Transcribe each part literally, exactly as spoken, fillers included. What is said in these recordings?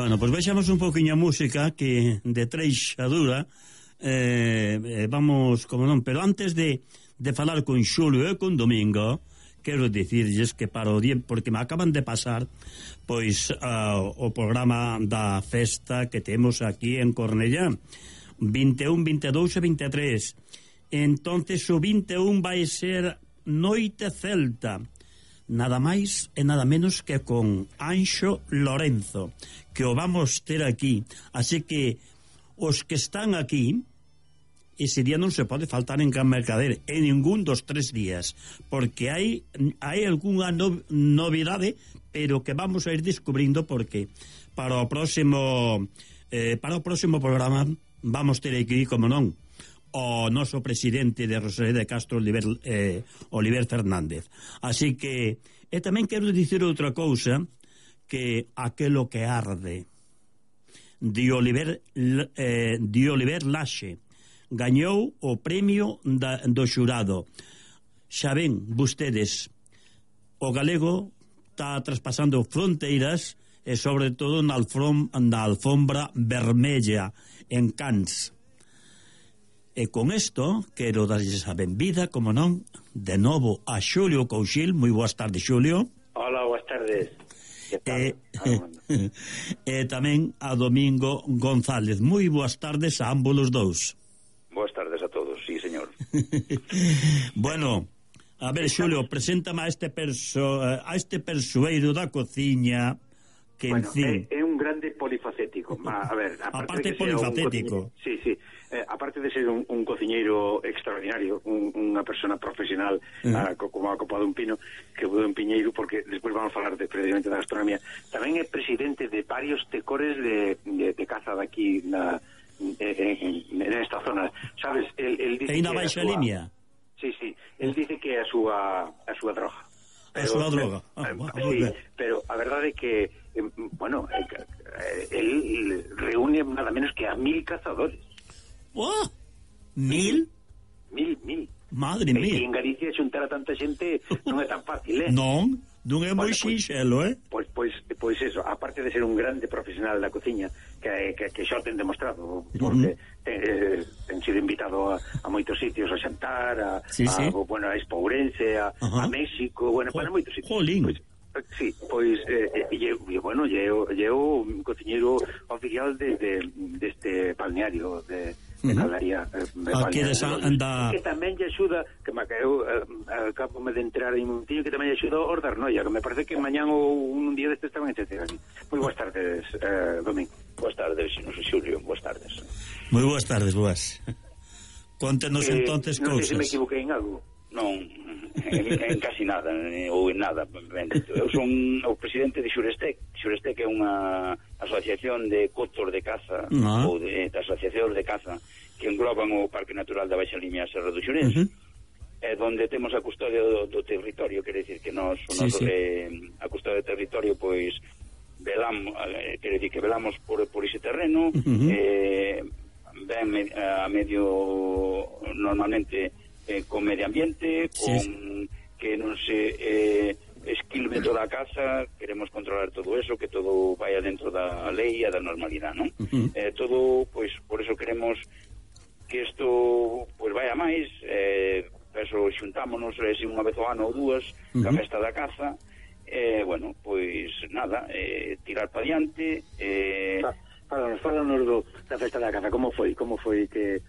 Bueno, pois pues baixamos un poquinho a música que de treixadura eh, eh, vamos, como non, pero antes de, de falar con Xulio e con Domingo, quero dicirlles que para o día, porque me acaban de pasar pois uh, o programa da festa que temos aquí en Cornellá, vinte e un, vinte e dous e vinte e tres. Entonces o vinte e un vai ser Noite Celta, nada máis e nada menos que con Anxo Lorenzo, que o vamos ter aquí. Así que os que están aquí, ese día non se pode faltar en Can Mercader en ningún dos tres días, porque hai hai algunha no, novidade, pero que vamos a ir descubrindo, porque para o próximo eh, para o próximo programa vamos ter aquí, como non, o noso presidente de Rosalía de Castro, Oliver, eh, Oliver Fernández. Así que, e tamén quero dicir outra cousa, que aquelo que arde de Oliver, eh, de Oliver Laxe gañou o premio da, do xurado. Xa ven vostedes, o galego está traspasando fronteiras e sobre todo na, alfom, na alfombra vermella en Cannes. E con isto quero darlles a benvida, como non, de novo a Xulio Couchil. Moi boas tardes, Xulio. Hola, boas tardes. E, e tamén a Domingo González. Moi boas tardes a ambos os dous. Boas tardes a todos, sí, señor. Bueno, a ver, Xulio, preséntame a este perso, a este persoeiro da cociña que, bueno, en fin, é, é un grande polifacético. A, a ver, aparte, aparte de polifacético. Un sí, sí. Eh, aparte de ser un, un cociñeiro extraordinario, un, unha persona profesional, uh -huh. a, como a copa dun pino, que vou en Piñeiro, porque despois vamos a falar de, precisamente da gastronomía. Tamén é presidente de varios tecores de, de, de caza daqui na, en, en, en esta zona. Sabes, el, el dice e na Baixa Limia. Sí, sí, el dice que é a súa a súa droga. Pero, a súa droga. Ah, eh, bueno, sí, pero a verdade é que eh, bueno, eh, el reúne nada menos que a mil cazadores. Oh, mil? Mil, mil. Madre e mía. en Galicia xuntar a tanta xente non é tan fácil, eh? Non, non é moi bueno, sinxelo, eh? Pois, pois, pois eso, aparte de ser un grande profesional da cociña, que, que, que xa ten demostrado, porque uh -huh. ten, eh, ten sido invitado a, a moitos sitios a xantar, a, sí, sí. a, bueno, a Expo Ourense, a, uh -huh. a México, bueno, para moitos sitios. Jolín. Pois, sí, pois eh, e, e, bueno, llevo llevo un cociñeiro oficial de, de, de este balneario de, de Caldaría, eh, aquí de San anda... que tamén lle axuda, que me eu eh, acabo de entrar en un tío que tamén lle axuda a Ordar Noia, que me parece que mañán ou un día destes estaban en Checer aquí. Moi boas tardes, eh, Domingo. Boas tardes, non sei, Xulio, boas tardes. Moi boas tardes, boas. Contenos eh, entonces non cousas. Non sei se me equivoquei en algo. Non, en, en casi nada, ou en nada. Eu son o presidente de Xurestec. Xurestec é unha asociación de cotos de caza, ah. ou de, de asociacións de caza que engloban o Parque Natural da Baixa Limia Serra do Xurés, uh -huh. eh, donde temos a custodia do, do territorio, quere dicir que nos, sí, nos sí. Eh, a custodia do territorio, pois velamos, eh, quere dicir que velamos por, por ese terreno, uh -huh. eh, ven me, a medio normalmente eh, con medio ambiente, con sí. que non se eh, esquilme toda a casa, queremos controlar todo eso, que todo vaya dentro da lei e da normalidade, non? Uh -huh. eh, todo, pois, por eso queremos que isto, pois, vaya máis, eh, eso xuntámonos eh, unha vez ao ano ou dúas, uh -huh. a festa da caza, eh, bueno, pois, nada, eh, tirar para diante, eh... Fálanos, fálanos do, da festa da caza, como foi, como foi que,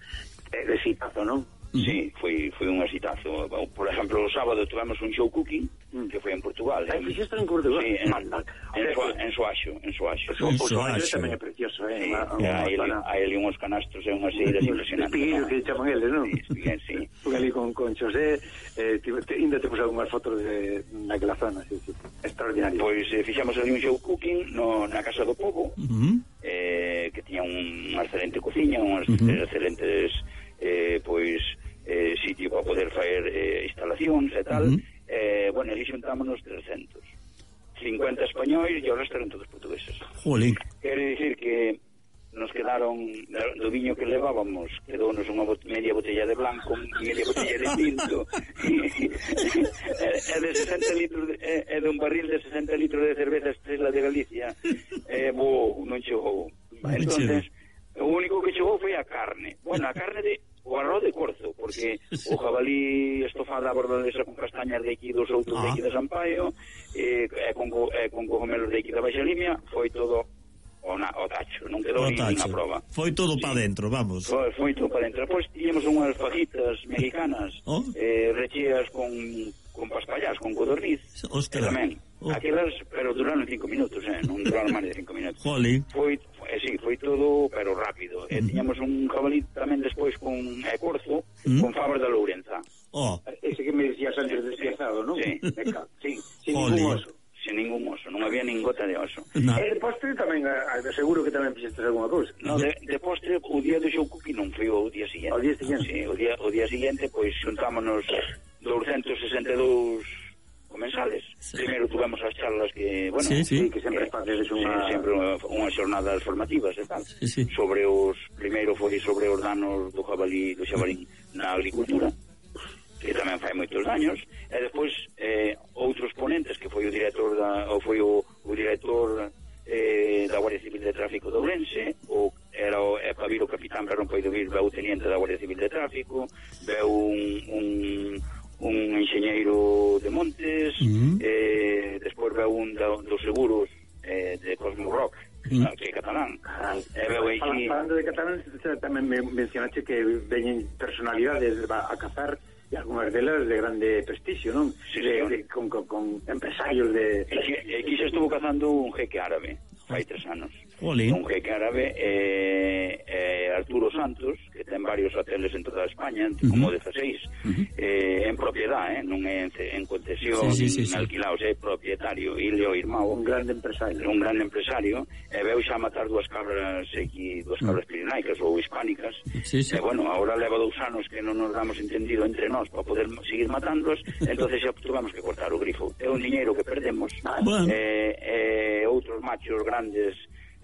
eh, de xitazo, non? Sí, foi foi un exitazo. Por exemplo, o sábado tivemos un show cooking mm. que foi en Portugal. Ai, fixeste en Portugal? Sí, en, en, Soa, en Soaxo, en Soaxo. O Soaxo tamén é precioso, eh? Sí, hai ali unhos canastos e unhas eiras impresionantes. Espiguillos que chaman eles, non? Sí, espiguillos, sí. Fui ali con, con Xosé, eh, ainda te puse algunhas fotos de naquela zona, sí, sí. Extraordinario. Pois eh, fixamos ali un show cooking no, na Casa do Pobo, uh -huh. eh, que tiña un, unha excelente cociña, unhas uh -huh. excelentes, eh, pois... Eh, sitio para poder faer eh, instalacións e tal, uh -huh. eh, bueno, ali xuntámonos trescentos cincuenta españois e o resto eran todos portugueses. Jolín. Quere dicir que nos quedaron do viño que levábamos, quedounos unha bot media botella de blanco, media botella de tinto é de sesenta litros de, é, é de un barril de sesenta litros de cerveza Estrela de Galicia. Eh, bo, non chegou. Entonces, o único que chegou foi a carne. Bueno, a carne de o arroz de corzo, porque o jabalí estofado a bordalesa con castañas de aquí dos outros de aquí de Sampaio, e eh, con, eh, con cogomelos de aquí da Baixa Limia, foi todo o, na, o tacho, non quedou nin a prova. Foi todo sí. para dentro, vamos. Foi, foi todo para dentro. Depois tiñemos unhas fajitas mexicanas, oh. eh, recheas con, con paspallás, con codorniz, e tamén. Oh. Aquelas, pero duraron cinco minutos, eh, non duraron máis de cinco minutos. Jolín. Foi, eh, sí, foi todo, pero rápido. Mm. E tiñamos un jabalí tamén despois con eh, corzo, mm. con fabas da Lourenza. Oh. Ese que me decías antes despiazado, non? Sí. Sí, sin ningún oso. Sin ningún oso, non había nin gota de oso. No. E de postre tamén, seguro que tamén fixeste alguna cousa. No, de, de postre, o día do xou cookie non foi o día seguinte. O día seguinte? Sí, o día, o día seguinte, pois, xuntámonos doscientos sesenta e dous comensales. Sí. Primeiro tuvemos as charlas que, bueno, sí, sí. sí, que sempre facedes unha... Sí, sempre unhas xornadas formativas e tal. Sí, sí. Sobre os... Primeiro foi sobre os danos do jabalí, do xabalín na agricultura, que tamén fai moitos daños, e despois eh, outros ponentes, que foi o director da, ou foi o, o director eh, da Guardia Civil de Tráfico de Ourense, o era o, é para vir o capitán, pero non pode vir, veu o teniente da Guardia Civil de Tráfico, veu un, un, un enxeñeiro de Montes, uh-huh. eh, despois veu un da, dos seguros eh, de Cosmo Rock, uh-huh. que é catalán. E veu aí... Falando de catalán, tamén me mencionaste que veñen personalidades a cazar, e algunhas delas de grande prestigio, non? Sí, de, de, con, con, con empresarios de... Aquí se estuvo cazando un jeque árabe, fai tres anos. Olín. Un jeque árabe, eh, eh, Arturo Santos, que ten varios hoteles en toda España, uh-huh. como dezaseis, uh-huh. eh, en propiedade, eh, non é en, en concesión, sí, sí, sí, en alquilados, é propietario, e leo irmão. Un grande empresario. Un grande empresario, e veu xa matar dúas cabras aquí, dúas cabras uh-huh. pirinaicas ou hispánicas, sí, sí. E bueno, agora leva dous anos que non nos damos entendido entre nós para poder seguir matándolos, entonces xa tuvamos que cortar o grifo. É un diñeiro que perdemos, bueno. eh, eh, outros machos grandes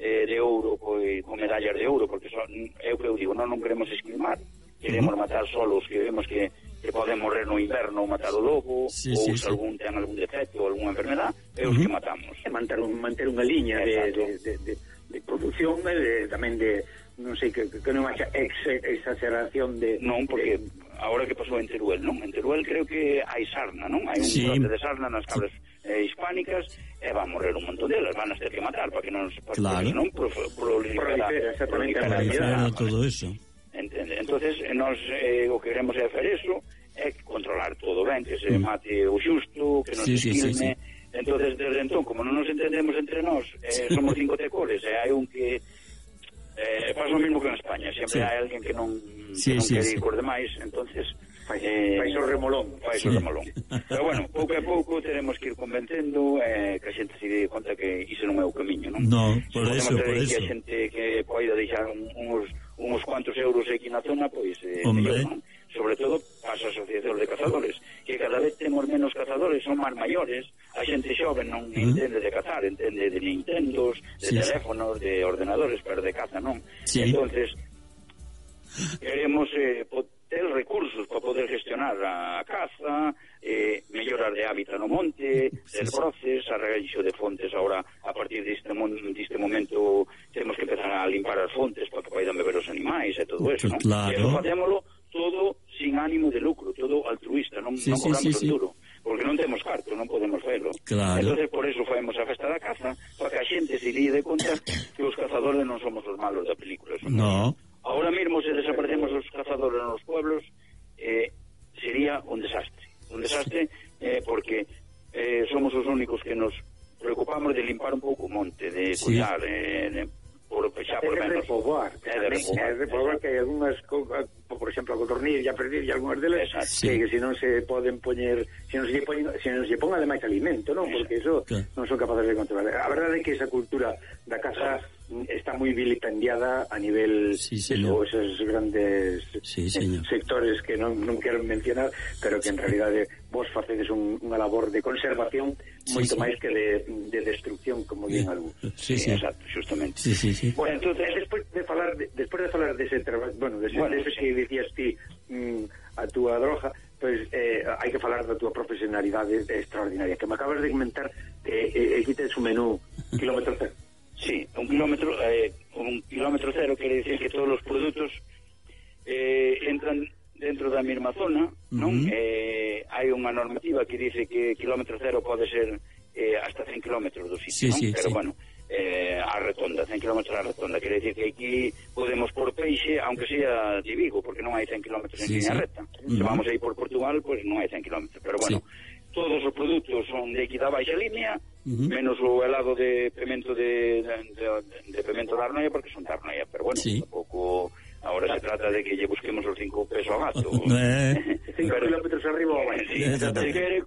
eh, de ouro, coi, con medallas de ouro, porque son, eu que eu digo, non, non queremos esquilmar, queremos uh-huh. matar solos que vemos que, que poden morrer no inverno ou matar o lobo, sí, ou sí, se sí. algún ten algún defecto ou algunha enfermedad, é os uh-huh. que matamos. É manter, un, manter unha liña de, de, de, de, de produción, de, tamén de, non sei, que, que non haxa ex, exageración de... Non, porque agora que pasou en Teruel, non? En Teruel creo que hai sarna, non? Hai un sí. brote de sarna nas cabras eh, hispánicas, e van a morrer un montón delas, van a ter que matar para que non para claro. que non prolifera, prolifera todo eso. Entende? Entonces, nós eh, o que queremos é facer eso, é controlar todo ben, que se mm. mate o xusto, que non sí, se esquilme. Sí, sí, sí. Entonces, desde entón, como non nos entendemos entre nós, eh, somos cinco tecores, e hai un que eh, pasa o mismo que en España, sempre sí. hai alguén que non, sí, que non sí, quere sí. ir por demais, entonces fai eh, o remolón fai sí. o remolón. Pero bueno, pouco a pouco teremos que ir convencendo, eh, que a xente se dé conta que iso non é o camiño, non? No, por se eso, por eso. Que a xente que poida deixar un, uns, uns cuantos euros aquí na zona, pois eh, Hombre. mellor, non? Sobre todo as asociacións de cazadores, que cada vez temos menos cazadores, son máis maiores, a xente xoven non uh-huh. entende de cazar, entende de Nintendos, de sí, teléfonos, sí. de ordenadores, pero de caza non. Sí. Entonces, queremos eh, ter recursos para poder gestionar a caza, eh, mellorar de hábitat no monte, ter broces, arregaixo de fontes. Ahora, a partir deste, deste momento, temos que empezar a limpar as fontes para que poidan beber os animais e todo eso, non? Claro. E eso facémolo todo sin ánimo de lucro, todo altruista, non, sí, non cobramos sí, sí, o duro, porque non temos carto, non podemos facerlo. Claro. Entonces, por eso faemos a festa da caza, para que a xente se dé conta que os cazadores non somos os malos da película. No. Ahora mesmo, se desaparecemos os cazadores nos pueblos, eh, sería un desastre. Un desastre eh, porque eh, somos os únicos que nos preocupamos de limpar un pouco o monte, de sí. cuidar, eh, de, por, xa por menos. De repobar. É de repobar. É de repobar que hai algunhas, por exemplo, a codorniz, a perdir, e algunhas delas, sí. que, que se non se poden poñer, se non se poñen, se non se ponga ademais alimento, non? Porque iso claro. non son capaces de controlar. A verdade é que esa cultura da caza está moi vilipendiada a nivel sí, de esos grandes sí, sectores que non, non quero mencionar, pero que en realidade vos facedes un, unha labor de conservación moito sí, sí. máis que de, de destrucción, como din algún. Sí, sí, exacto, justamente. Sí, sí, sí. Bueno, entonces, despois de falar de, despois de falar dese traballo, bueno, dese, bueno, dese que dicías ti mm, a túa droga, pois pues, eh, hai que falar da túa profesionalidade extraordinaria, que me acabas de comentar que eh, aquí tens un menú kilómetro cero. Sí, un kilómetro eh, un kilómetro cero quere dicir que todos os produtos eh, entran dentro da mesma zona, non? Uh -huh. eh, hai unha normativa que dice que kilómetro cero pode ser eh, hasta cen kilómetros do sitio, sí, non? Sí, pero sí. bueno, eh, a retonda, cen kilómetros a retonda, quere dicir que aquí podemos por peixe, aunque sea de Vigo, porque non hai cen kilómetros en sí, línea sí. recta. Uh -huh. Se vamos aí por Portugal, pois pues non hai cen kilómetros, pero bueno, sí. todos os produtos son de aquí da baixa línea, uh -huh. menos o helado de pemento de, de, de, de pemento da Arnoia, porque son da Arnoia, pero bueno, sí. tampouco ahora se trata de que lle busquemos os cinco pesos ao gato. cinco kilómetros arriba ou abaixo. Sí, se quere,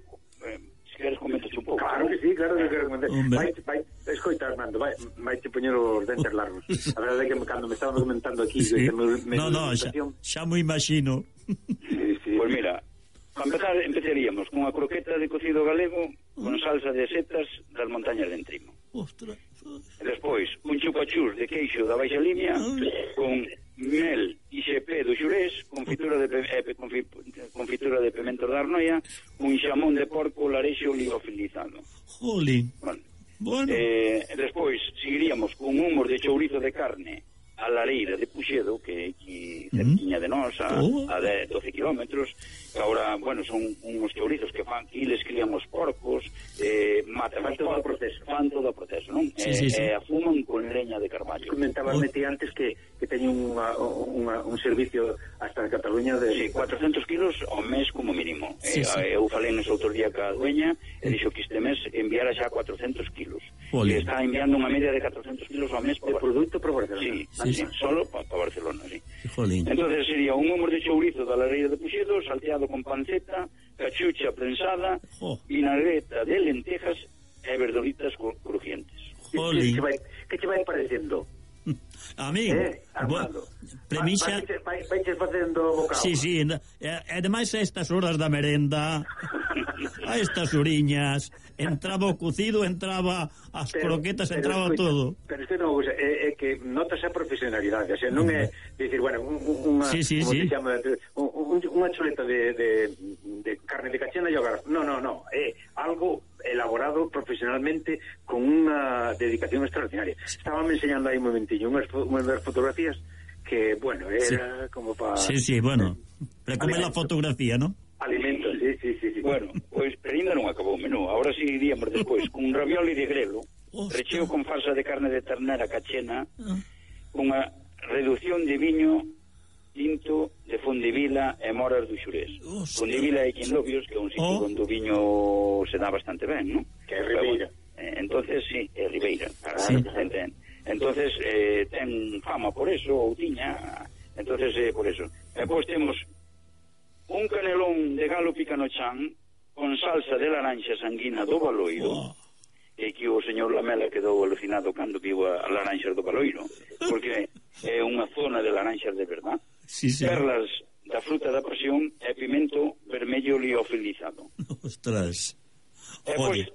se queres comentas un pouco. Claro que sí, claro que quero comentar. Vai, vai, escoita, Armando, vai, vai te poñer os dentes largos. A verdade é que cando me estaban comentando aquí, sí. que me, me no, no, xa, xa mo imagino. Sí, sí. Pois pues mira, para empezar, empezaríamos con unha croqueta de cocido galego con salsa de setas das montañas de Entrimo. Ostras. Despois, un chupachús de queixo da baixa línea con mel e xepé do Xurés, confitura de eh, confitura de pemento da Arnoia, un xamón de porco larexo liofilizado. Jolín. Bueno. Bueno. Eh, despois seguiríamos con humor de chourizo de carne a lareira de Puxedo, que é aquí cerquiña de nós, a, oh. a de doce kilómetros, que agora, bueno, son uns chourizos que fan, que les criamos porcos, eh, matan fan todo o proceso, fan todo o proceso, non? Sí, eh, sí, sí. eh, afuman con leña de carballo. Comentabas, oh. Meti, antes que, que teñen unha, unha, un servicio hasta en Cataluña de... Sí, cuatrocentos kilos ao mes como mínimo. Sí, eh, sí. Eu falei nese outro día ca dueña, e dixo que este mes enviara xa cuatrocentos kilos. Jolín. E está enviando unha media de catrocentos kilos ao mes de produto para Barcelona. Sí, sí, sí, sí. solo para pa Barcelona, sí. Jolín. Entonces sería un humor de chourizo da lareira de Puxedo, salteado con panceta, cachucha prensada, oh. vinagreta de lentejas e verduritas crujientes. Jolín. Que, que, vai, que te vai parecendo? A mí, eh, Armando, premisa... Vai, vai, vai facendo bocado. Sí, sí, e ademais a estas horas da merenda, a estas uriñas, entraba o cocido, entraba as pero, croquetas, pero entraba escucha, todo. Pero isto non, é, é que notas a profesionalidade, o sea, non é dicir, bueno, unha, sí, sí, como sí. se chama, un, unha chuleta de, de, de carne de cachena e hogar. No, no, no, é algo elaborado profesionalmente con unha dedicación extraordinaria. Estaban enseñando aí un momentillo unhas, unhas fotografías que, bueno, era sí. como para... Sí, sí, bueno, para comer a fotografía, ¿no? Alimentos, sí, sí, sí, sí. Bueno, pois, pues, pero ainda non acabou o menú. Ahora sí iríamos despois con un ravioli de grelo, recheo con farsa de carne de ternera cachena, ah. unha reducción de viño tinto de Fondevila e moras do Xurés. Fondevila e Quinlobios, que é un sitio oh. onde o viño se dá bastante ben, ¿no? Que é Ribeira. Eh, entonces, sí, é Ribeira. Sí. Entonces, eh, ten fama por eso, ou tiña, entonces, eh, por eso. E pois temos un canelón de galo picanochan con salsa de laranxa sanguina do Baloiro, oh. e que o señor Lamela quedou alucinado cando viu a, a laranxas do Baloiro, porque é unha zona de laranxas de verdad. Sí, sí. Perlas da fruta da pasión e pimento vermello liofilizado. Ostras. E pois,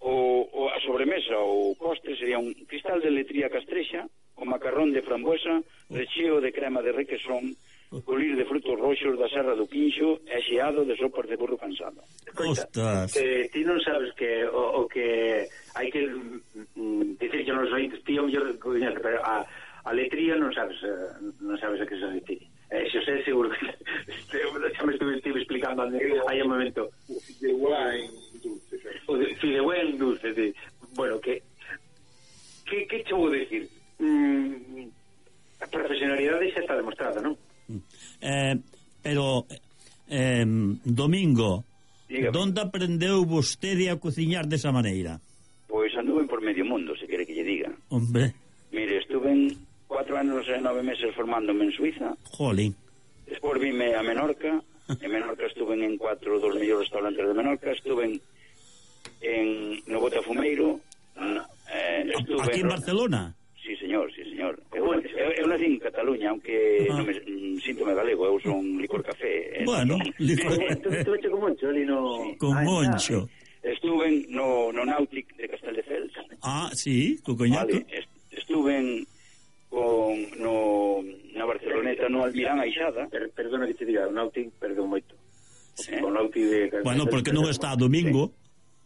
o, o, a sobremesa, o postre sería un cristal de letría castrexa con macarrón de frambuesa, recheo de crema de requesón, colir de frutos roxos da Serra do Quinxo e xeado de sopas de burro cansado. Ostras. Eh, ti non sabes que o, o que hai que mm, dicir que non os ointes, ti o mellor pero a, a letría non sabes non sabes a que se retire. Eh, xo sei seguro que xa me estuve, estuve explicando hai un momento o fideuá en dulce, o fideuá en dulce de, bueno, que que, que che vou decir mm, a profesionalidade xa está demostrada, non? Eh, pero eh, Domingo, dígame, donde aprendeu vostede a cociñar desa maneira? Pois anduve por medio mundo, se quere que lle diga. Hombre. Mire, estuve en cuatro anos e nove meses formándome en Suiza. Jolín. Despois vime a Menorca. En Menorca estuve en cuatro dos mellores restaurantes de Menorca. Estuve en, en no Botafumeiro. Eh, estuve aquí en, en Barcelona? Sí, señor, sí, nacín en Cataluña, aunque non me, mm, síntome galego, eu son licor café. Bueno, licor... Estuve con Moncho ali no... Con Moncho. Estuve no, no Nautic de Castelldefels. Ah, sí, co coñaco. Vale, estuve con no, na Barceloneta, no Almirán Aixada. Per, perdona que te diga, o Nautic perdeu moito. Sí. O Nautic de... Bueno, porque non está domingo.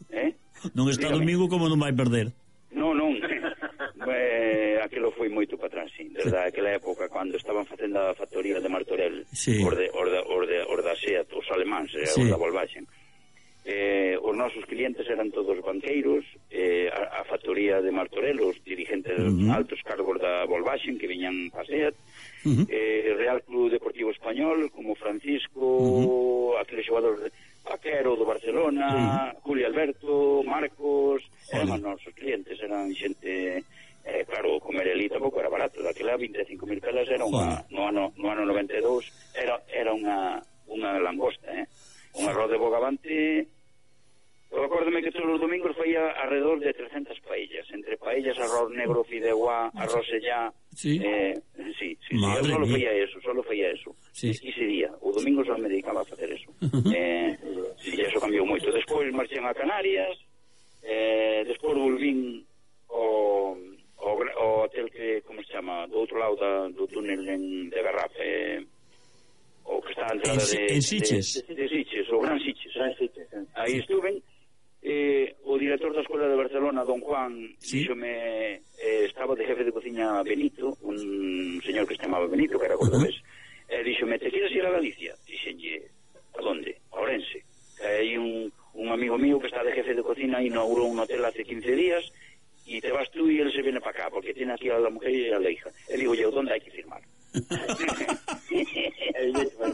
Sí. Eh? Non está Dígame. domingo, como non vai perder? Non, non. eh, aquilo foi moito para atrás, sí. Desde aquela época, cando estaban facendo a factoría de Martorell, sí. Os de, os de, os de, os da SEAT, os alemáns, sí. Os da Volkswagen. Eh, os nosos clientes eran todos banqueiros, eh, a, a factoría de Martorell, os dirigentes uh-huh. altos cargos da Volkswagen que viñan para SEAT, uh-huh. eh, Real Club Deportivo Español, como Francisco, uh-huh. aquele xogador de Paquero do Barcelona, uh-huh. Julio Alberto, Marcos, eran os nosos clientes, eran xente, eh, claro, comer ali tampouco era barato, daquela vinte e cinco mil pelas era unha, no ano, no ano noventa e dous, era, era unha, unha langosta, eh? Un arroz de Bogavante. Eu acórdome que todos os domingos faía alrededor de trescentas paellas, entre paellas, arroz negro, fideuá, arroz sellá. Sí. Eh, sí, sí, sí, eu solo feía eso, solo feía eso. Sí. Ese día, o domingo só me dedicaba a facer eso. Uh-huh. Eh, sí, eso cambiou moito. Despois marchei a Canarias, eh, despois volvín ao, ao, ao hotel que, como se chama, do outro lado da, do túnel en, de Garrafa, eh, o que está a entrada en, de... En Sitges. De, de, de Sitges, o Gran Sitges. Gran Sitges. Aí Sí. estuve. Eh, o director da Escola de Barcelona, don Juan, sí. díxome, eh, estaba de jefe de cociña Benito, un señor que se chamaba Benito, que era cordobés, uh-huh. eh, díxome, te quieres ir a Galicia? Dixenlle, a donde? A Ourense. Eh, hai un, un amigo mío que está de jefe de cocina, inaugurou un hotel hace quince días, e te vas tú e él se viene para acá, porque tiene aquí a la mujer e a la hija. E digo yo, ¿dónde hai que firmar?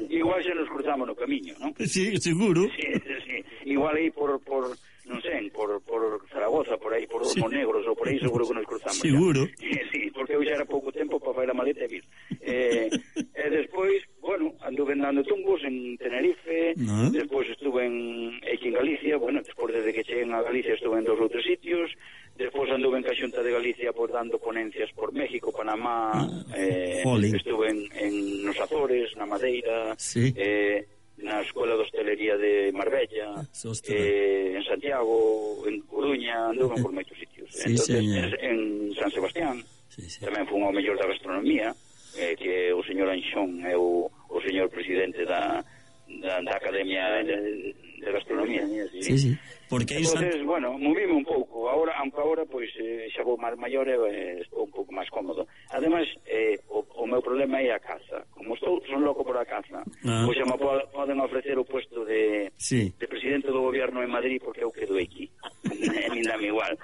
Igual se nos cruzamos no camiño, ¿no? Sí, seguro. Sí, sí. Igual aí por, por non sei, por, por Zaragoza, por aí, por os sí. Monegros, ou por aí seguro que nos cruzamos. Seguro. Ya. Sí, porque eu xa era pouco tempo para fazer a maleta e vir. Eh, e despois, bueno, anduve andando tumbos en Tenerife, no. Despois estuve en, aquí en Galicia, bueno, despois desde que cheguen a Galicia estuve en dos ou tres sitios, despois anduve en Caxunta de Galicia por dando ponencias por México, Panamá, eh, estuve en, en nos Azores, na Madeira, sí. eh, na Escola de Hostelería de Marbella, eh, en Santiago, en Coruña, anduve por moitos sitios. Sí, entonces, en, en San Sebastián, sí, sí. Tamén fui ao mellor da gastronomía, eh, que o señor Anxón é o, o señor presidente da, da, da Academia de, de Gastronomía. Sí, sí. sí. Porque entonces, san... bueno, movime un pouco. Ahora, aunque agora, pois, eh, xa vou máis maior e eh, estou un pouco máis cómodo. Ademais, eh, o, o meu problema é a caza. Como estou, son loco por a caza. Ah. Pois xa me poden ofrecer o puesto de, sí. de presidente do gobierno en Madrid porque eu quedo aquí. Nin dame igual.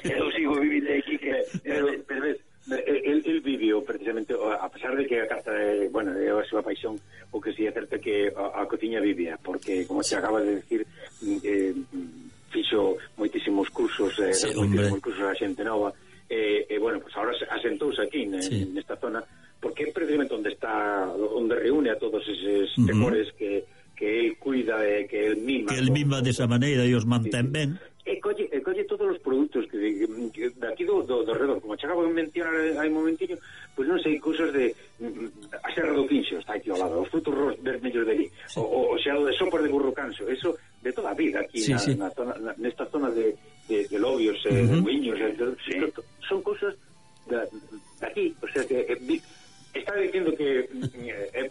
Eu sigo vivindo aquí que... Pero, pero ves, el, el vivió precisamente, a pesar de que a caza é, bueno, é a súa paixón, o que si é certo que a, a cociña vivía, porque, como te acaba de decir, eh, fixo moitísimos cursos, eh, sí, moitísimos cursos a xente nova, e, eh, eh, bueno, pues ahora asentouse aquí, ne, sí. nesta zona, porque é precisamente onde está, onde reúne a todos eses uh-huh. temores que, que él cuida e que él mima. Que él mima desa maneira e os mantén sí, sí. ben. E colle, e colle todos os produtos que, que, que de aquí do, do, do redor, como che acabo de mencionar hai un momentiño, pois pues non sei, cousas de a Serra do Quinxo está aquí ao lado, os frutos ros vermellos de ali, sí. o, o xa o de sopas de burro canso, eso de toda a vida aquí sí, na, sí. Na zona, na, nesta zona de, de, de Lobios, uh-huh. eh, de Muiños, eh, sí. son cousas de, de aquí, o sea que eh, está dicindo que é eh,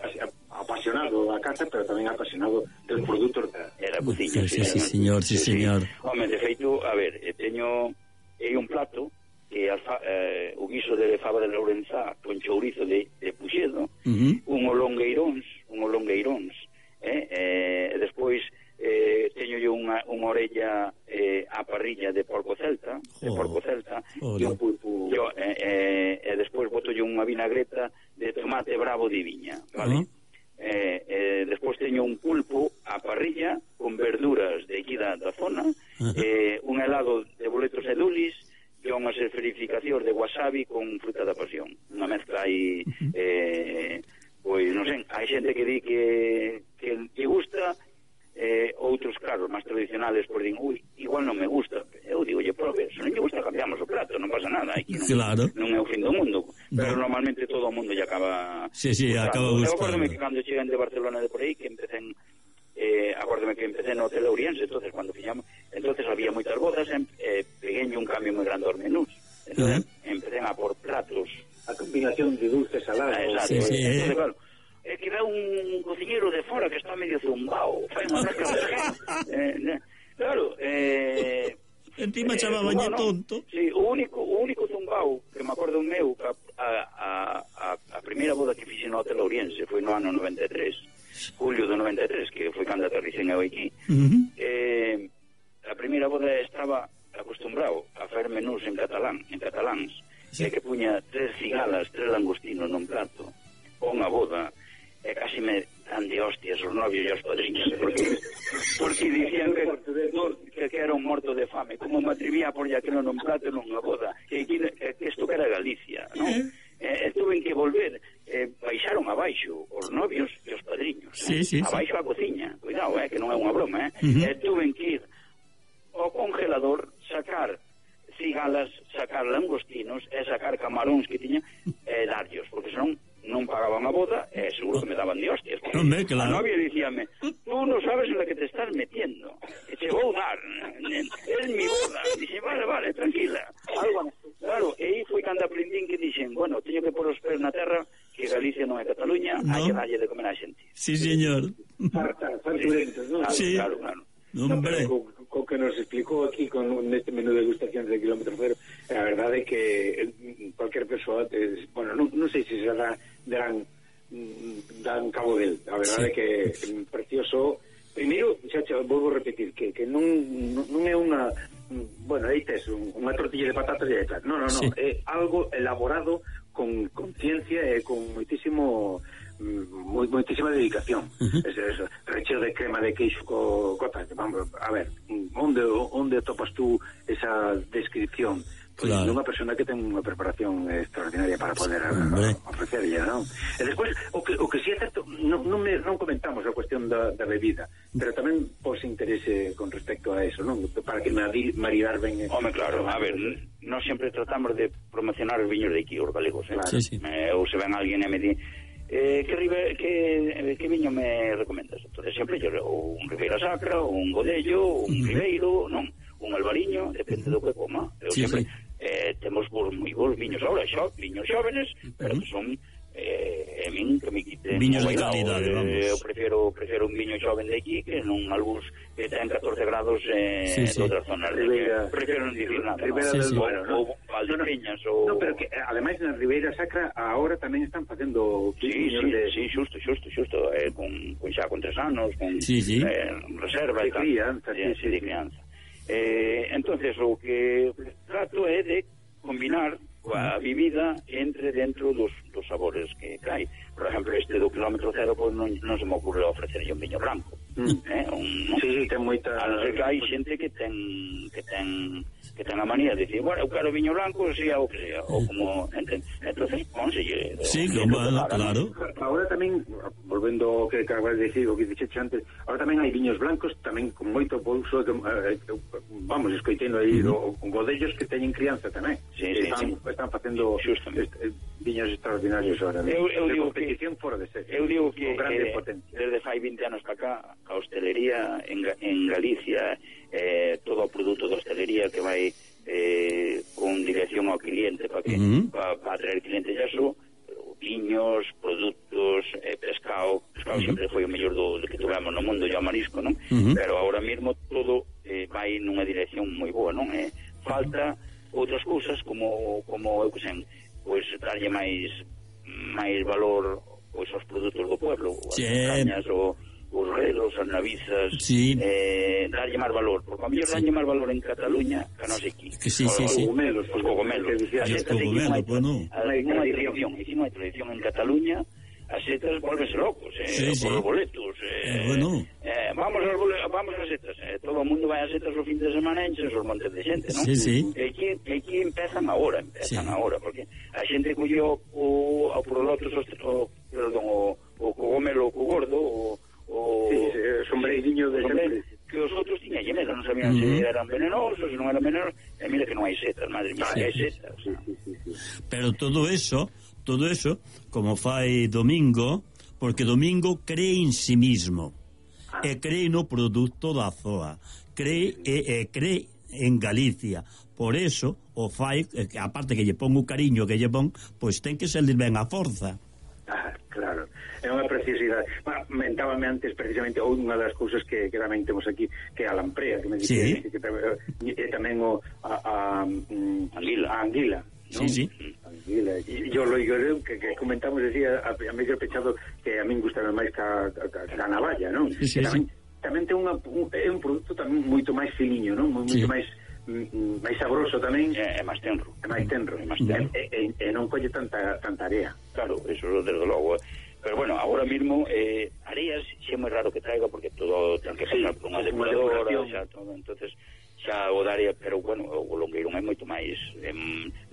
apasionado da caza, pero tamén apasionado dos produtos da, da cociña. Sí, sí, sí, señor, sí, sí, señor. Home, de feito, a ver, teño hai un plato que alfa, eh, o guiso de fava de Lourenzá con chourizo de, de puxedo, uh-huh. un olongueiróns, un olongueiróns, eh, eh, despois eh, teño yo unha, unha orella eh, a parrilla de porco celta, de oh. porco celta, oh, e un pulpo, yo, eh, eh, e despois boto yo unha vinagreta de tomate bravo de viña, vale? Uh-huh. Eh, eh, despois teño un pulpo a parrilla con verduras de aquí da, da zona, uh-huh. eh, un helado de boletos e dulis e unhas esferificacións de wasabi con fruta da pasión, unha mezcla aí uh-huh. eh, pois non sei, hai xente que di que que lle gusta, eh, outros, claro, máis tradicionales, por din, ui, igual non me gusta. Eu digo, lle, probe, se non lle gusta cambiamos o prato, non pasa nada, aquí non, claro. non é o fin do mundo, pero no. normalmente todo o mundo lle acaba sí, sí, gustando. acaba Eu gustando. acórdome que cando chegan de Barcelona de por aí, que empecen eh, acórdome que empecé no Hotel Ouriense, entonces cuando fixamos, entonces había moitas bodas, eh, peguenlle un cambio moi grande aos menús, entonces uh -huh. empecé a por platos, a combinación de dulce salado. Exacto, sí, sí, entonces, eh. claro, é que ve un cociñeiro de fora que está medio zumbao, fai unha rasca de eh, claro, eh encima eh, chamabañe no, tonto. Sí, o único o único zumbao que me acordo meu que a, a, a, a primeira boda que fixe no Hotel Ouriense foi no ano noventa e tres, julio do noventa e tres, que foi cando aterricen eu aquí. Uh -huh. eh, a primeira boda estaba acostumbrado a fazer menús en catalán, en cataláns, sí. Que puña tres cigalas, tres langostinos nun plato, unha boda, e casi me dan de hostias os novios e os padriños, porque, porque dicían que, no, que, que era un morto de fame, como me atrevía por ya que non un plato nunha boda, que, que, que isto que era Galicia, non? Eh, tuven que volver, eh, baixaron abaixo os novios e os padriños, sí, sí, abaixo sí. a cociña, cuidado, eh, que non é unha broma, eh? Uh -huh. Eh, tuven que ir ao congelador, sacar cigalas, sacar langostinos e sacar camaróns que tiña e darllos, porque senón non pagaban a boda e seguro que me daban de hostias. Hombre, claro. A novia dicíame, tú non sabes en la que te estás metiendo, que te vou dar, es mi boda. Dixe, vale, vale, tranquila. Algo, claro, e aí foi cando aprendín que dixen, bueno, teño que pôr os pés na terra, que Galicia non é Cataluña, no. Hai que darlle de comer a xente. Sí, señor. Farta, farturentos, non? Sí. Claro, claro. Hombre. Co, co que nos explicou aquí con este menú de degustación de kilómetro cero, a verdade é que cualquier persoa, eh, bueno, non, non sei se se dá dan, dan cabo del, a verdade é sí. Que é precioso. Primeiro, xa xa volvo a repetir que, que non, non é unha, bueno, aí tes unha tortilla de patatas e de non, non, non, sí. É algo elaborado con conciencia e con moitísimo moi, moitísima dedicación. Uh -huh. es, es, recheo de crema de queixo co cota, vamos, a ver, onde onde topas tú esa descripción? Pois claro. Unha persona que ten unha preparación extraordinaria para poder ofrecerlle, non? E despois, o que, o que si é certo, non, non, me, non comentamos a cuestión da, da bebida, pero tamén pos interese con respecto a eso, non? Para que maridar ben... Home, claro, a ver, nós sempre tratamos de promocionar os viños de aquí, os galegos, eh? Claro. Sí, sí. Eh, ou se ven alguén e me di, eh, que, ribe, que, que viño me recomendas? Entonces, sempre yo, un Ribeira Sacra, un Godello, un uh-huh. Ribeiro, non? Un Albariño, depende do que coma. Eu sí, sempre... Sí. Eh, temos bons, moi bons viños ahora, xo, viños xóvenes, pero que son eh, a min que me quiten viños de calidade, eh, vamos. Eu prefiero, prefiero un viño xoven de aquí que non algúns que ten catorce grados eh, sí, sí. De outras zonas. Ribeira, prefiero non dicir nada, Ribeira ¿no? del Sí, Duero, sí. Ou Valdepeñas ou... No, pero que ademais na Ribeira Sacra ahora tamén están facendo sí, viños sí, de... sí, xusto, xusto, xusto eh, con, con xa con tres anos, con sí, sí. Eh, reserva de crianza, sí, sí, sí, de crianza. Eh, entonces o que trato é de combinar a vivida entre dentro dos, dos sabores que hai. Por exemplo, este do kilómetro cero, pois non, non se me ocurre ofrecerlle un viño branco. Mm. Eh, un, sí, sí, ten moita... A non ser que hai xente que ten que ten que ten a manía de dicir, bueno, eu quero viño blanco, sea o que sea, ou como, entende? Entonces, pónselle... Sí, claro, claro. Ahora tamén, volvendo ao que acabas de decir, o que dixeche antes, ahora tamén hai viños blancos, tamén con moito pouso, eh, vamos, escoitendo aí, uh -huh. con godellos que teñen crianza tamén. Sí, sí, están, sí. Están facendo est, viños extraordinarios ahora. Eu, eu de digo competición que, fora de ser. Eu digo que eh, desde fai vinte anos para cá, a hostelería en, en Galicia, eh, todo o produto de hostelería que vai eh, con dirección ao cliente para que uh -huh. para pa atraer clientes ya so, viños, produtos, eh, pescado, pescado uh -huh. sempre foi o mellor do, do que tuvemos no mundo, e o marisco, non? Uh -huh. Pero agora mesmo todo eh, vai nunha dirección moi boa, non? Eh, falta outras cousas como como eu que sei, pois darlle máis máis valor pois aos produtos do pueblo, as sí. cañas, o os relos, as navizas, sí. eh, darlle máis valor, porque a mellor sí. darlle máis valor en Cataluña que non sei aquí. Que sí, sí, os sí. cogumelos, os cogumelos. Os cogumelos, bueno. Hai unha tradición, e si non hai tradición en Cataluña, as setas volvense locos, eh, sí, sí. por os boletos. Eh, eh, bueno. Eh, vamos aos boletos, vamos ás setas. Eh, todo o mundo vai ás setas o fin de semana e enchen os montes de xente, non? Sí, sí. E aquí, aquí empezan agora, empezan sí. agora, porque a xente colleu o, o por lotos, o, perdón, o, o cogomelo, o gordo, o o sí, sí, sombreirinho de sempre, que os outros tiñan lle medo, non sabían uh -huh. se eran venenosos, se non eran venenosos, e mira que non hai setas, madre mía, sí, hai setas. Sí, sí, sí, sí. Pero todo eso, todo eso, como fai Domingo, porque Domingo cree en sí mismo, ah. e cree no produto da Z O A, cree, e, e cree en Galicia, por eso o fai, aparte que lle pon o cariño que lle pon, pois ten que salir ben a forza. Ah, claro, é unha precisidade. Bueno, mentábame antes precisamente unha das cousas que, que tamén temos aquí, que é a lamprea, que me dice sí. que, que, que, que tamén o a, a, um, anguila, a anguila, ¿no? Sí, sí. Anguila. E yo lo digo que, que comentamos decía a, a mellor pechado que a min gustaba máis ca, ca, ca navalla, non? Sí, sí, tamén, sí. tamén ten unha, un, é un produto tamén moito máis filiño, non? Moito sí. máis máis sabroso tamén, é, é máis tenro, é máis tenro, é máis tenro. E, e, e non colle tanta tanta area. Claro, eso desde logo. Pero bueno, agora mismo eh, areas xa é moi raro que traiga porque todo ten que pasar sí, por unha depuradora, xa todo, entonces xa o da área, pero bueno, o longueirón é moito máis eh,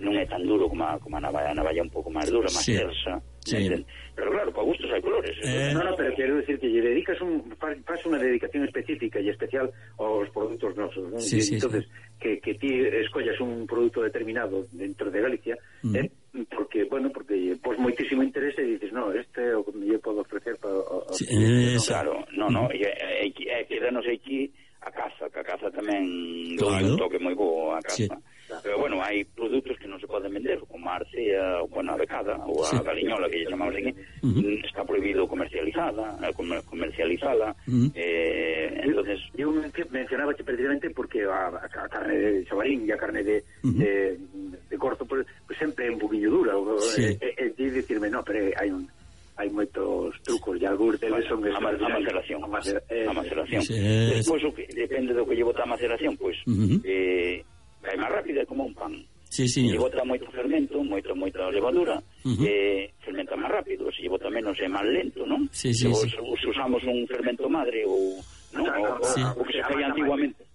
non é tan duro como a, como a navalla, a navalla un pouco máis dura, máis sí. tersa. Sí. Pero claro, para gustos hai colores. Eh, no, no, pero quero decir que lle dedicas un faz unha dedicación específica e especial aos produtos nosos, ¿no? Sí, sí, entonces sí. que que ti escollas un produto determinado dentro de Galicia, uh -huh. eh, porque bueno, porque pos moitísimo interese e dices, "No, este é o que me podo ofrecer para sí, eh, claro, no, no, e é que danos aquí a caza, que a caza tamén claro. un toque moi bo a caza. Sí. Pero bueno, hai produtos que non se poden vender, como a arcea, bueno, a becada, ou a sí. galiñola, que lle chamamos aquí, uh -huh. está prohibido comercializada, comercializada, uh -huh. eh, entonces... Eu mencionaba que precisamente porque a, a carne de xabarín e a carne de, uh -huh. de, de corzo, pues, pues sempre é un poquinho dura, sí. e, e, e dicirme, no, pero hai un... hai moitos trucos e algúns deles son a, ma a maceración, a, macera, eh, a maceración. Sí. Despois o que depende do que lle bota a maceración, pois pues, uh -huh. eh, é máis rápida como un pan. Sí, sí. Se lle bota moito fermento, moito moita levadura, uh -huh. eh, fermenta máis rápido, se lle bota menos é máis lento, non? Sí, sí, se, sí. se usamos un fermento madre ou non, o, sí. o, o que se feía antiguamente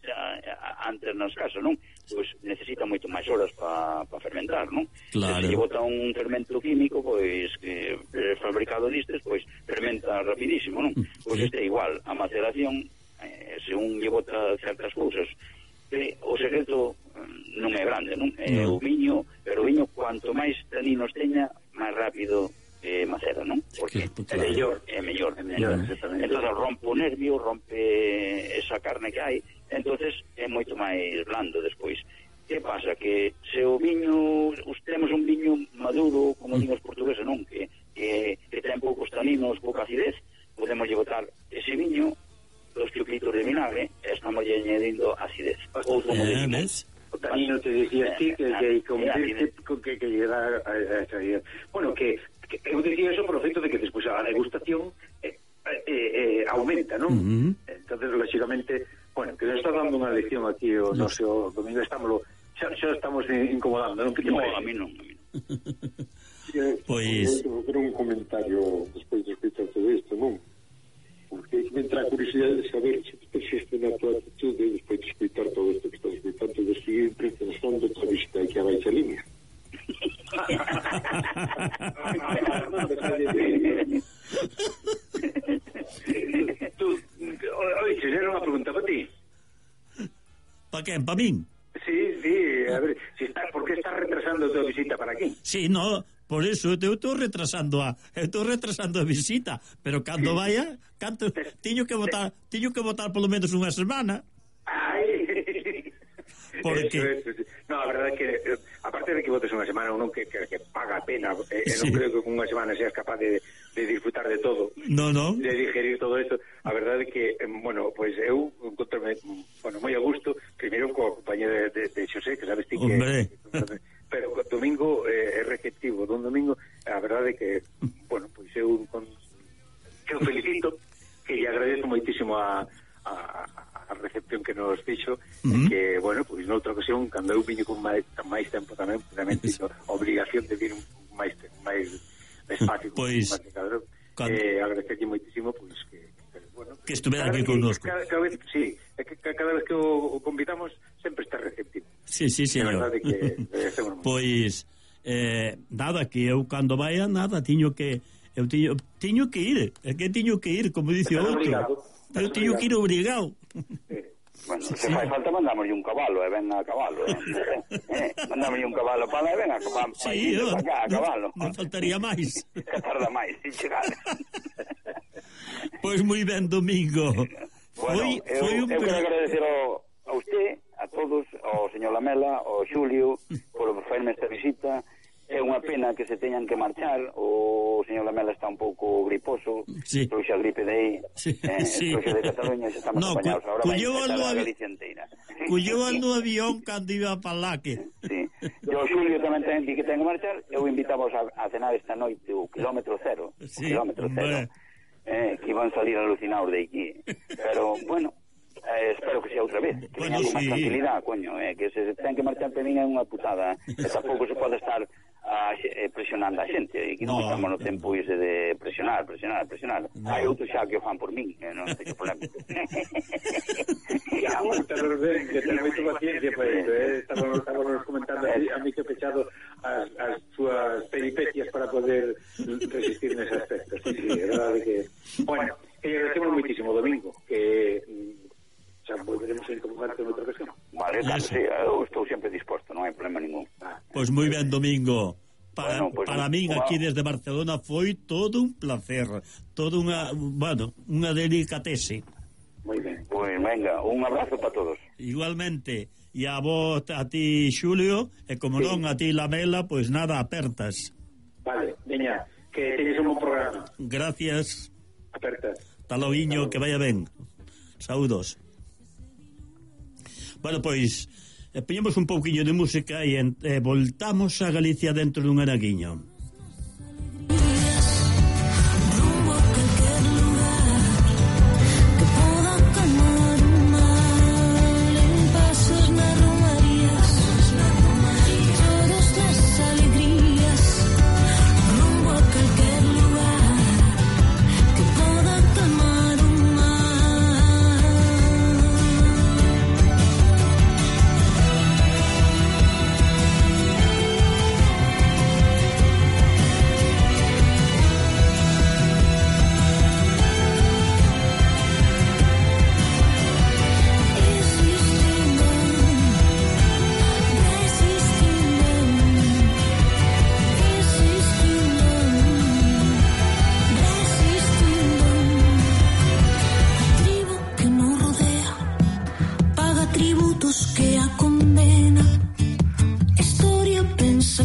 antes nas casas, non? Pois necesita moito máis horas para pa fermentar, non? Claro. Se lle bota un fermento químico, pois que é fabricado distes, pois fermenta rapidísimo, non? Pois este é igual, a maceración, eh, se un lle bota certas cousas, eh, o secreto non é grande, non? É no. o viño, pero o viño cuanto máis taninos teña, máis rápido eh, macera, non? Porque claro. é mellor, é mellor, é mellor. Entón rompe o nervio, rompe esa carne que hai, entonces é moito máis blando despois. Que pasa? Que se o viño, os temos un viño maduro, como mm. dimos portugueses, non? Que, que, que ten poucos taninos, pouca acidez, podemos botar ese viño, dos chupitos de vinagre, e estamos añadindo acidez. Outro eh, de o tanino te decía ti que que que que llega a esa idea. Bueno, que eu dicía eso por o feito de que despois a degustación eh, eh, eh, aumenta, non? Uh -huh. Entonces, lógicamente, bueno, que nos está dando unha lección aquí o no sé, o Domingo, estámoslo xa, xa estamos incomodando, non? No, a mí non, a mí non. Pois... Eu quero un comentario despois de escuchar todo isto, non? Porque me entra a curiosidade de saber se te persiste na tua actitude despois de escutar todo isto que estás escutando de seguir pensando a tua visita aquí a baixa línea. Tú, oye, era unha pregunta para ti. Pa quen? Pa min? Sí, sí, a ver, si está, ¿por qué estás retrasando tu visita para aquí? Sí, no, por eso eu estou retrasando a eu estou retrasando a visita, pero cando vaya, canto tiño que votar, tiño que votar polo menos unha semana. Ai. Porque eso, eso, no, a verdade é que aparte de que votes unha semana, uno que, que, que paga a pena, eh, sí. non creo que con unha semana seas capaz de, de disfrutar de todo. No, no. De digerir todo isto. A verdade é que, bueno, pois pues, eu encontrome, bueno, moi a gusto, primeiro coa compañía de, de, de Xosé, que sabes ti que... Hombre. Pero domingo eh, é receptivo, don domingo, a verdade é que, bueno, pois pues, eu con, que eu felicito, que lle agradezo moitísimo a, a, a recepción que nos fixo, uh -huh. que, bueno, pois pues, noutra ocasión, cando eu viño con máis, máis tempo tamén, tamén tiño obligación de vir un máis máis espacio, pois, máis cabrón, cuando... eh, agradecerlle moitísimo, pois pues, que, que, bueno, que estuvera aquí connosco. Cada, cada vez, sí, que, cada vez que o, o convidamos, sempre está receptivo. Sí, sí, señor. Que, pois, eh, nada, que eu cando vaya, nada, tiño que eu tiño, tiño que ir, é que tiño que ir, como dice o outro. Eu tiño que ir obrigado. Eh, Bueno, se sí. fai falta mandámoslle un cabalo, e ven a cabalo, eh? eh? Mandámoslle un cabalo para lá e ven a, pa, pa, sí, no, para cá, a cabalo. Non faltaría máis. Que tarda máis, sin chegar. Pois moi ben, Domingo. Bueno, foi, eu, foi un... eu quero agradecer ao, a usted, a todos, ao señor Lamela, ao Xulio, por facerme esta visita. É unha pena que se teñan que marchar. O señor Lamela está un pouco griposo, sí. Trouxe a gripe de aí, sí, eh, sí. Trouxe de Cataluña, se estamos no, apañados. Agora vai empezar a Galicia inteira. Cullou no avión cando iba para lá que... Sí. Eu, Xulio, tamén ten que ten que marchar. Eu invitamos a, a cenar esta noite o kilómetro cero. Sí, o kilómetro cero. Eh, que iban salir alucinados de aquí. Pero, bueno... Eh, espero que sea outra vez, que bueno, venga con sí. máis tranquilidad, coño, eh, que se ten que marchar para min é unha putada, e tampouco se pode estar a, eh, presionando a xente, e que non no, estamos no tempo ise de presionar, presionar, presionar. No. Hai outros xa que o fan por min, eh, non teño problema. Ya, pero ben, que ten moito paciencia para isto, eh? Estábamos, estábamos comentando a, a mí que pechado as, as súas peripecias para poder resistir nese aspecto. Sí, sí, é verdade que... Bueno, que agradecemos moitísimo, Domingo, que... xa volveremos a incomodarte en outra ocasión. Vale, claro, sí, eu estou sempre disposto, non hai problema ningún. Pois pues moi ben, Domingo. Para, bueno, pues, para min aquí desde Barcelona foi todo un placer, todo unha, bueno, unha delicatese. Moi ben. Pois pues, venga, un abrazo para todos. Igualmente. E a vos, a ti, Xulio, e como sí. non a ti, Lamela, pois pues nada, apertas. Vale, veña, que teñes un bon programa. Gracias. Apertas. Hasta loguiño, que vaya ben. Saúdos. Bueno, pois, eh, poñemos un pouquiño de música e eh, voltamos a Galicia dentro dun anaguiño.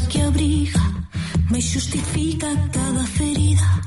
Que abriga, me justifica cada ferida.